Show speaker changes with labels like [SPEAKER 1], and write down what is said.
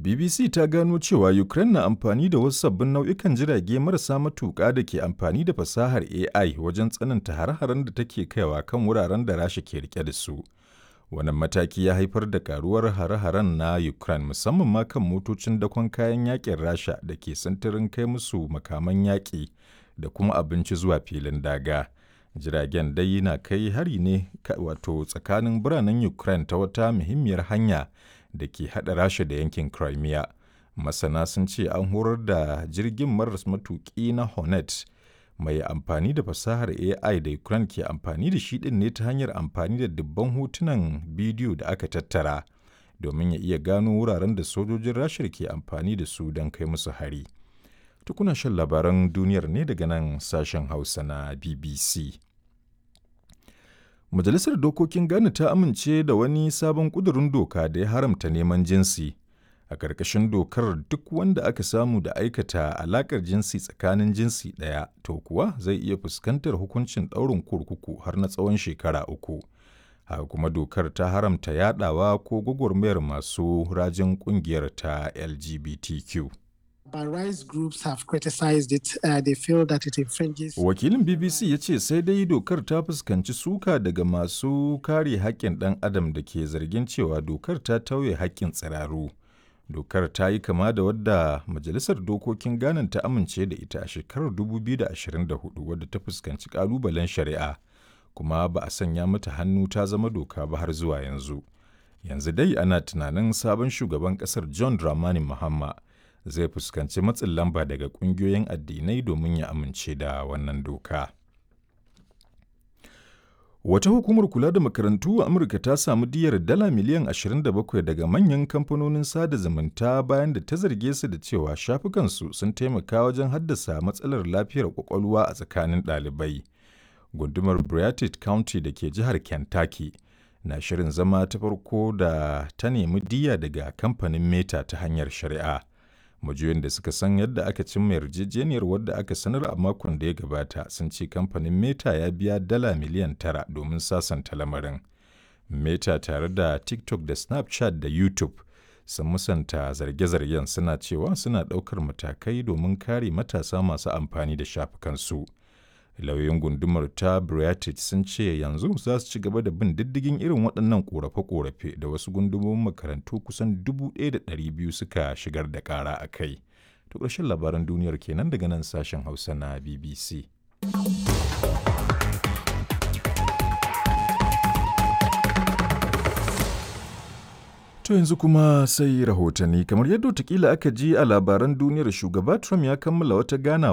[SPEAKER 1] BBC ta gano cewa Ukraine na amfani da wasu sabbin nau'ikan jirage marasa matuƙa da ke amfani da fasahar AI wajen tsananta hare-haren da take kaiwa kan wuraren da Rasha ke rike da su. Wannan mataki ya haifar da karuwar hare-haren na Ukraine, musamman ma kan motocin dakon kayan yakin Rasha da ke sintirin kai musu makaman yaƙi da kuma abinci zuwa filin daga. Jiragen dai na kai hari ne wato tsakanin biranen Ukraine ta wata muhimmiyar hanya da ke haɗa Rasha da yankin Crimea. Masana sun ce an horar da jirgin maras matuƙi na Hornet mai amfani da fasahar AI da Ukraine ke amfani da shi ɗin ne ta hanyar amfani da dubban hotunan bidiyo da aka tattara domin ya iya gano wuraren da sojojin Rasha ke amfani da su don kai musu hari. Tukuna shan labaran duniyar ne daga nan sashen Hausa na BBC. Majalisar Dokokin Ghana ta amince da wani sabon ƙudurin doka da ya haramta neman jinsi. A ƙarƙashin dokar, duk wanda aka samu da aikata alaƙar jinsi tsakanin jinsi ɗaya, to kuwa zai iya fuskantar hukuncin ɗaurin kurkuku har na tsawon shekara 3. Haka kuma dokar ta haramta yaɗawa ko gwagwarmayar masu rajin ƙungiyar ta LGBTQ.
[SPEAKER 2] But rights groups have criticized it. They feel that it infringes.
[SPEAKER 1] Wakilin BBC ya ce sai dai dokar ta fuskanci suka daga masu kare haƙƙin ɗan adam da ke zargin cewa dokar ta tauye haƙƙin tsiraru. Dokar ta yi kama da wadda Majalisar Dokokin Ghana ta amince da ita a shekarar 2024, wadda ta fuskanci ƙalubalen shari'a, kuma ba a sanya mata hannu ta zama doka ba har zuwa yanzu. Yanzu dai ana tunanin sabon shugaban ƙasar John Dramani Mahama zai fuskanci matsin lamba daga ƙungiyoyin addinai domin ya amince da wannan doka. Wata hukumar kula da makarantu a Amurka ta samu diyar dala miliyan 27 daga manyan kamfanonin sada zumunta bayan da ta zarge su da cewa shafukansu sun taimaka wajen haddasa matsalar lafiyar kwakwalwa a tsakanin ɗalibai. Gundumar Briarwood County da ke jihar Kentucky na shirin zama ta farko da ta nemi diya daga kamfanin Meta ta hanyar shari'a. Majiyoyin da suka san yadda aka cimma yarjejeniyar, wadda aka sanar a makon da ya gabata, sun ce kamfanin Meta ya biya dala miliyan 9 domin sasanta lamarin. Meta tare da TikTok da Snapchat da YouTube sun musanta zarge-zargen, suna cewa suna ɗaukar matakai domin kare matasa masu amfani da shafukansu. Lauyoyin gundumar ta Briarwood sun ce yanzu za su ci gaba da bin diddigin irin waɗannan ƙorafe-ƙorafe da wasu gundumomin makarantu kusan 1,200 suka shigar da ƙara a kai. To, ƙarshen labaran duniyar kenan daga nan sashen Hausa na BBC. To, yanzu kuma sai rahotanni. Kamar yadda watakila aka ji a labaran duniyar, shugaba Trump ya kammala wata ganawa